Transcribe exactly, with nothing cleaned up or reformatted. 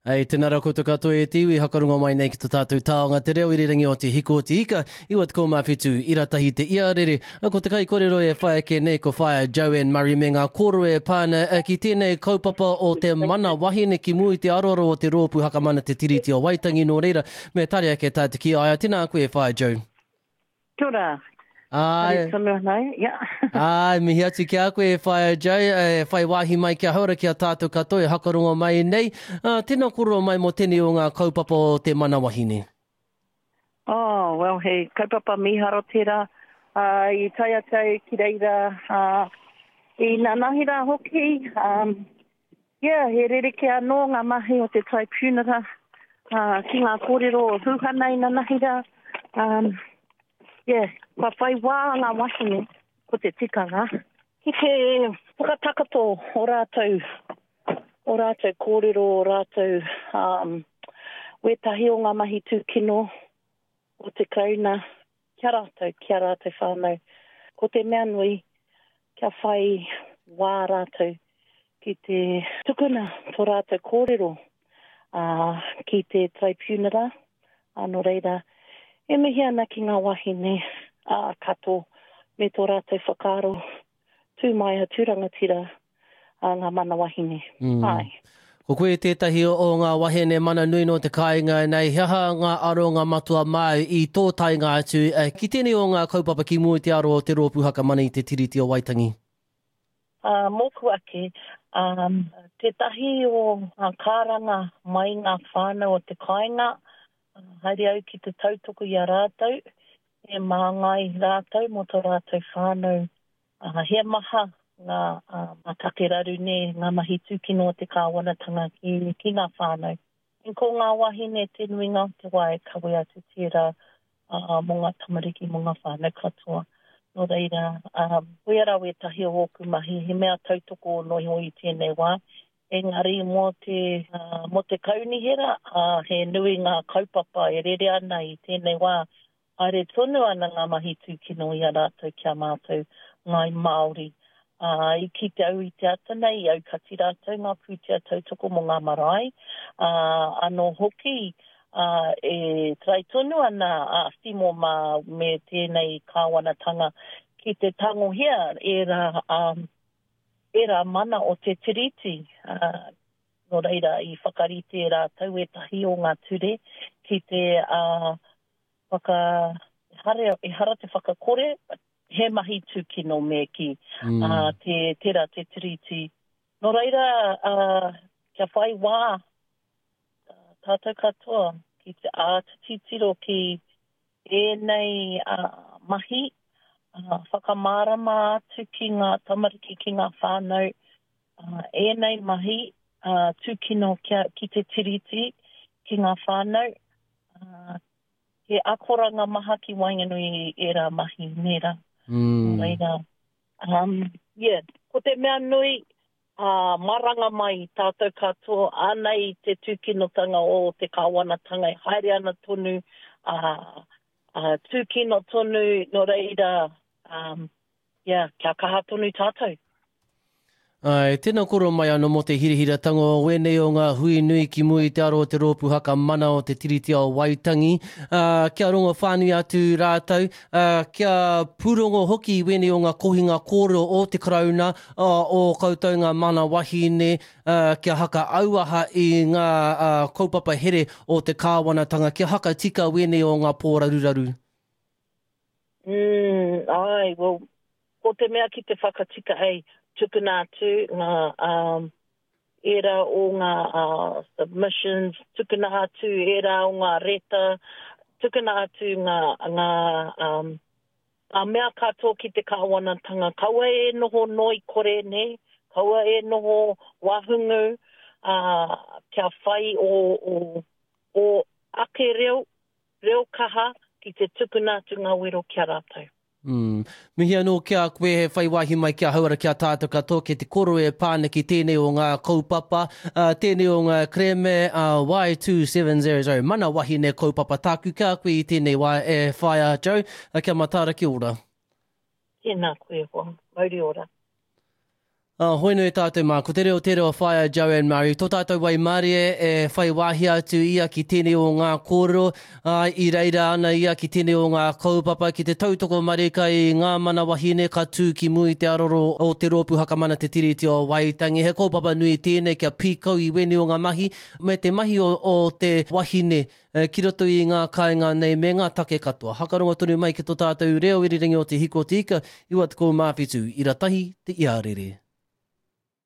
Hei, tēnā rā koutou katoa e te iwi, hakarunga mai nei ki tō tātou taonga te reo irirangi o Te Hiko o Te Ika, iwa tekau mā whitu, ira tahi te iarere. Ko te kaikorero e whai ake nei ko Whaea Joanne Murray me ngā kōrero e pā ana ki tēnei kaupapa o te mana wahine ki mua i te aroaro o te Rōpū Hakamana Te Tiriti o Waitangi, nō reira, me tare ake tā te ki a ia. Tēnā koe e Whaea Jo. Kia ora. Āe. Haere tonu ana, ia. Āe, mihi atu ki a koe e Whaea Jo, e whai wāhi mai kia hauora ki a tātou katoa e hakarongo mai nei. Uh, tēnā kōrero mai mō tēnei o ngā kaupapa o te mana wahine. Oh, well, he kaupapa mīharo tērā. Uh, i tae atu au ki reira, uh, i nanahi rā hoki. Um, yeah, he rerekē anō ngā mahi o te tribunal uh, ki ngā kōrero o Huhana i nanahi rā. Um, yeah, kua whai wā ngā wahine, ko te tikanga, ki te whakatakato o rātou, o rātou kōrero, o rātou um, wētahi o ngā mahi tūkino o te Karauna ki a rātou, ki a rātou whānau. Ko te mea nui, kia whai wā rātou ki te tukuna tō rātou kōrero uh, ki te tribunal, uh, nō reira, e mihi ana ki ngā wahine uh, kato me tō rātou whakaaro tū mai a tū rangatira uh, ngā mana wahine. Mm. Ai. Ko koe tētahi o ngā wahine mana nui nō te kāinga nei, he aha ngā aronga matua māu i tō taenga atu ki tēnei o ngā kaupapa ki mua i te aro o te Rōpū Hakamana i te Tiriti o Waitangi? Uh, mōku ake, um, tētahi o ngā kāranga mai ngā whānau o te kāinga, haere au ki te tautoko i a rātou, e māngai rātou mō tō rātou whānau. Uh, he maha ngā uh, ngā take raru nē, ngā mahi tūkino o te kāwanatanga ki, ki ngā whānau. En ko ngā wahine te nuinga o te wā e kawe atu tērā uh, mō ngā tamariki, mō ngā whānau katoa. Nō reira, um, koia rā wētahi o ōku mahi, he mea tautoko no iho i tēnei wā. Engari mō te, uh, mō te kaunihera, uh, he nui ngā kaupapa e rere ana i tēnei wā. Haere tonu ana ngā mahi tūkino i a rātou ki a mātou Ngāi Māori. Uh, i ki te au i te ata nei, i aukati rātou ngā pūtea tautoko mō ngā marae. Uh, anō hoki, uh, e trai tonu ana a Simo mā me tēnei kāwanatanga ki te tangohia ērā, um, ērā mana o te tiriti. Uh, nō reira, i whakarite rātou ētahi o ngā ture ki te uh, whaka, ehara, ehara te whakakore, he mahi tūkino me ki mm. uh, te, tērā te tiriti. Nō reira, uh, kia whai wā uh, tātou katoa ki te āta titiro ki ēnei uh, mahi, uh, whakamārama atu ki ngā tamariki, ki ngā whānau, uh, ēnei mahi uh, tūkino kia, ki te tiriti, ki ngā whānau, uh, he akoranga maha ki waenganui i ērā mahi, nērā. Mm. Nō reira, um, yeah, ko te mea nui, uh, maranga mai tātou katoa, anei te tūkinotanga o te kāwanatanga e haere ana tonu, uh, uh, tūkino tonu, nō reira, um, yeah, kia kaha tonu tātou. Ai, tēnā koro mai anō mō te hirahiratanga o wēnei o ngā hui nui ki mua i te aro o te Rōpū Hakamana o te Tiriti o Waitangi. Uh, kia rongo whānui atu rātou, uh, kia pūrongo hoki i wēnei o ngā kohinga kōrero o te Karauna, uh, o koutou ngā mana wahine, uh, kia haka auaha i ngā uh, kaupapa here o te kāwanatanga, kia haka tika wēnei o ngā pōraruraru. Mm, ai, well, ko te mea ki te whakatika hei, tukuna atu ngā um, ērā o ngā uh, submissions, tukuna atu ērā o ngā reta, tukuna atu ngā, ngā, um, ngā mea katoa ki te kāwanatanga. Kaua e noho noi kore, ne? Kaua e noho wahungu, uh, kia whai o, o, o ake reo, reo kaha ki te tukuna atu ngā wero ki a rātou. Mm. Mihi anō ki a koe he whai wāhi mai ki a hauora ki a tātou katoa ki te koro e pāna ki tēnei o ngā kaupapa, uh, tēnei o ngā kerēme uh, Y two seven zero zero, mana wahine kaupapa tāku ki a koe i tēnei wā e whaea Jo, uh, kia mataara ki ora. Tēnā koe hoa, mauri ora. Uh, hoi nui tātou mā, ko te reo te reo whaia Joanne Murray, tō tātou waimarie e whai wāhi atu ia ki tēnei o ngā kōrero, uh, i reira ana ia ki tēnei o ngā kaupapa, ki te tautoko marika i ngā mana wahine ka tū ki mua i te aroro o te Rōpū Hakamana Te Tiriti o Waitangi. He kaupapa nui tēnei kia pīkau i wēnei o ngā mahi, me te mahi o, o te wahine ki roto i ngā kāinga nei me ngā take katoa. Hakarongo tonu mai ki tō tātou reo irirangi o Te Hiko o Te Ika, iwa tekau mā whitu, ira tahi te iarere.